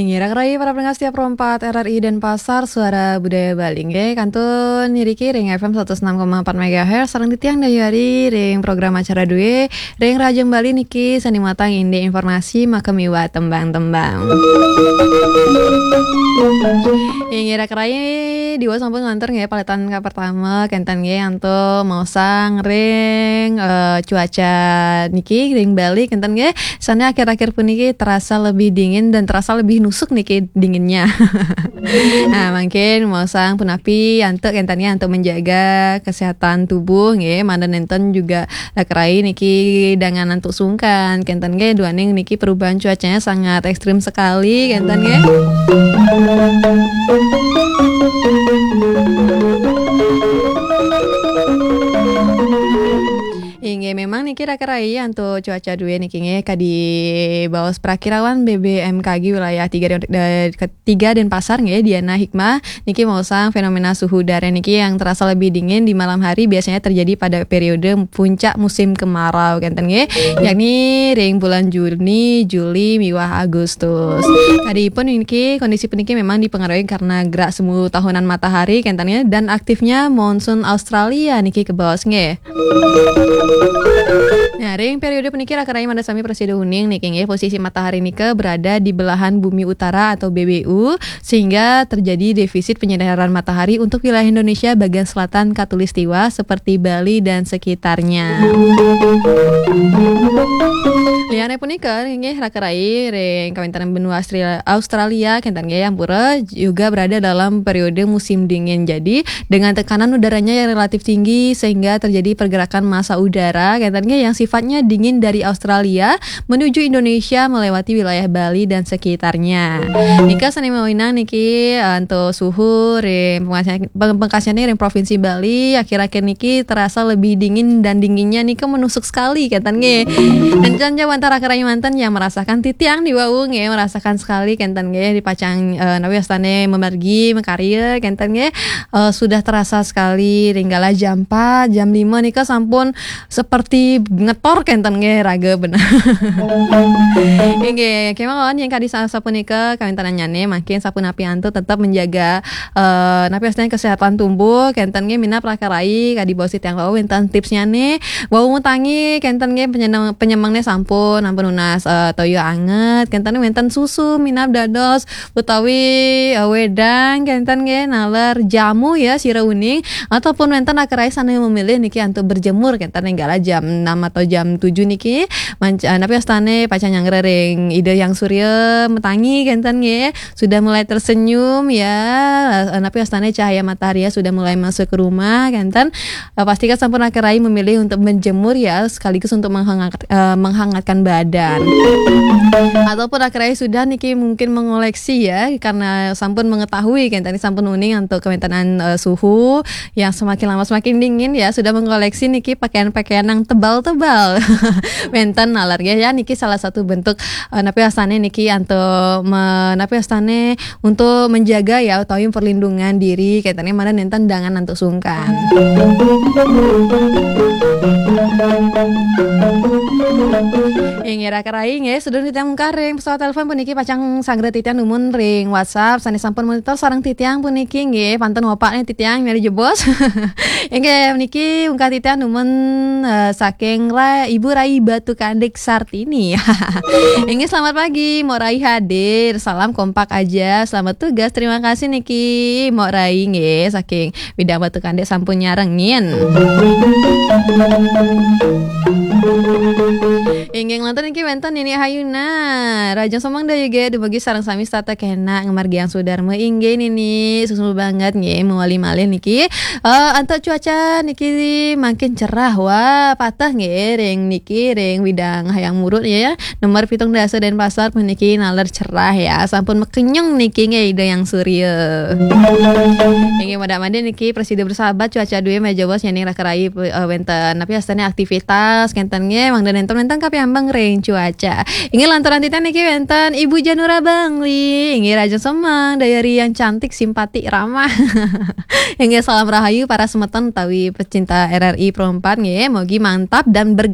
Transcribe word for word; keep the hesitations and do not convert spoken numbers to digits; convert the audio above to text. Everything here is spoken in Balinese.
Inggih, raka rayi para pendengar setia Pro empat R R I Denpasar, Suara Budaya Bali. Inggih, kantun niriki ring F M seratus enam koma empat megahertz, sareng titiang Dayu Ari ring program acara due, ring Rahajeng Bali niki sane matang indik informasi maka miwah tembang-tembang. Inggih, raka rayi, diwau sampun nglantur nggih paletan ka pertama, kenten nggih, antuk maosang ring, eh, cuaca niki ring Bali, kenten nggih. Sane akhir-akhir puniki terasa lebih dingin dan terasa lebih nusuk niki dinginnya. Nah, mungkin maosang punapi antuk kenten nggih antuk menjaga kesehatan tubuh nggih, mangda nenten juga raka rayi niki dangan antuk sungkan, kenten nggih, duaning niki perubahan cuacanya sangat ekstrim sekali, kenten nggih. Inggih, memang niki raka rayi antuk cuaca due niki nggih, kadi baos prakirawan B B M K G wilayah tiga, eh, ketiga Denpasar nggih, Diana Hikmah niki maosang fenomena suhu udara niki yang terasa lebih dingin di malam hari biasanya terjadi pada periode puncak musim kemarau, kenten nggih, yakni ring bulan Juni, Juli, miwah Agustus. Kadipun niki, kondisi puniki memang dipengaruhi karena gerak semu tahunan matahari, kenten nggih, dan aktifnya monsun Australia niki kabaos nggih. Nah, ring periode puniki raka rayi mangda sami prasida uning niki nggih, posisi matahari nika berada di belahan bumi utara atau B B U, sehingga terjadi defisit penyinaran matahari untuk wilayah Indonesia bagian selatan khatulistiwa seperti Bali dan sekitarnya. Liane punika nggih raka rayi ring kawentanan benua Austria-, Australia, kenten nggih, ampura juga berada dalam periode musim dingin. Jadi, dengan tekanan udaranya yang relatif tinggi sehingga terjadi pergerakan massa udara, kenten nggih, yang sifatnya dingin dari Australia menuju Indonesia melewati wilayah Bali dan sekitarnya. Nika sane mawinan niki, eh, antuk suhu ring pengkasian-, peng-, pengkasiane ring Provinsi Bali akhir-akhir niki terasa lebih dingin dan dinginnya nika menusuk sekali, kenten nggih. Dan jan jauh antara raka rayi manten yang merasakan, titiang diwau nggih, merasakan sekali, kenten nggih, di pacang, eh, napi wastane mamargi, makarya, kenten nggih. Eh, sudah terasa sekali, ring galah jam empat, jam lima nika sampun seperti ngetor, kenten nggih, raga bener. Inggih, kemawon yang kadi sa-, sapunika kawentenannyane, mangkin sapunapi antuk tetap menjaga, eh, napi wastane kesehatan tubuh, kenten nggih, minab raka rayi, kadi baos titiang wau wenten tipsnyane, wau ngutangi, kenten nggih, penyemang-, penyemangnya sampun, ampun nunas, eh, toya anget, kenten nggih, wenten susu, minab dados, utawi, eh, wedang, kenten nggih, naler jamu ya, sira uning, ataupun wenten raka rayi sane memilih niki antuk berjemur, kenten ring galah jam enam atau jam tujuh niki, manc-, eh, napi wastane pacang nyanggra ring Ida Hyang Surya matangi, kenten nggih, sudah mulai tersenyum ya, eh, napi wastane cahaya matahari ya sudah mulai masuk ke rumah, kenten. Eh, pastikan sampun raka rayi memilih untuk menjemur ya, sekaligus untuk menghangat-, eh, menghangatkan badan. Ataupun raka rayi sudah niki mungkin mengoleksi ya, karena sampun mengetahui, kenten nggih, sampun uning antuk kawentanan, eh, suhu yang semakin lama semakin dingin ya, sudah mengoleksi niki pakaian-pakaian yang tebal-tebal. Wenten naler nggih ya, niki salah satu bentuk, eh, napi wastane niki antuk me-, napi wastane untuk menjaga ya utawi perlindungan diri, kenten nggih, mangda nenten dangan antuk sungkan. Inggih, raka rayi nggih, sedurung titiang mungkar ring pesawat telepon puniki pacang sanggra titiang dumun ring WhatsApp, sane sampun monitor sareng titiang puniki nggih, pantun wapakne titiang nyari jebos. Inggih, niki mungkar titiang dumun, eh, saking Ra-, Ibu Rai Batu Kandik Sartini. Inggih, selamat pagi, Mok Rai hadir. Salam kompak aja. Selamat tugas. Terima kasih niki, Mok Rai nggih, saking Widang Batu Kandik sampun nyarengin. Inggih, nglantur niki wenten Nini Hayuna. Rahajeng semeng Dayu nggih, dumugi sareng sami setata kenak ngamargiang sudarma. Inggih, Nini, suksma banget nggih, mawali malih niki. Eh, antuk cuaca niki mangkin cerah, wah, pateh nggih ring niki, ring Widang Hayam Muruk ya. Nomor pitung dasa Denpasar puniki naler cerah ya, sampun makenyung niki nggih Ida Hyang Surya. Inggih, mangda-mangda niki prasida bersahabat, cuaca due malih jebos nyening raka rayi, eh, wenten napi wastane aktivitas, kenten nggih, mangda nenten-nenten kapiambang ring cuaca. Inggih, lanturang titiang niki wenten Ibu Janura Bangli. Inggih, rahajeng semeng, Dayu Ari yang cantik, simpati, ramah. Inggih, salam rahayu para semeton utawi pecinta R R I Pro empat nggih. Mugi mantap dan berga-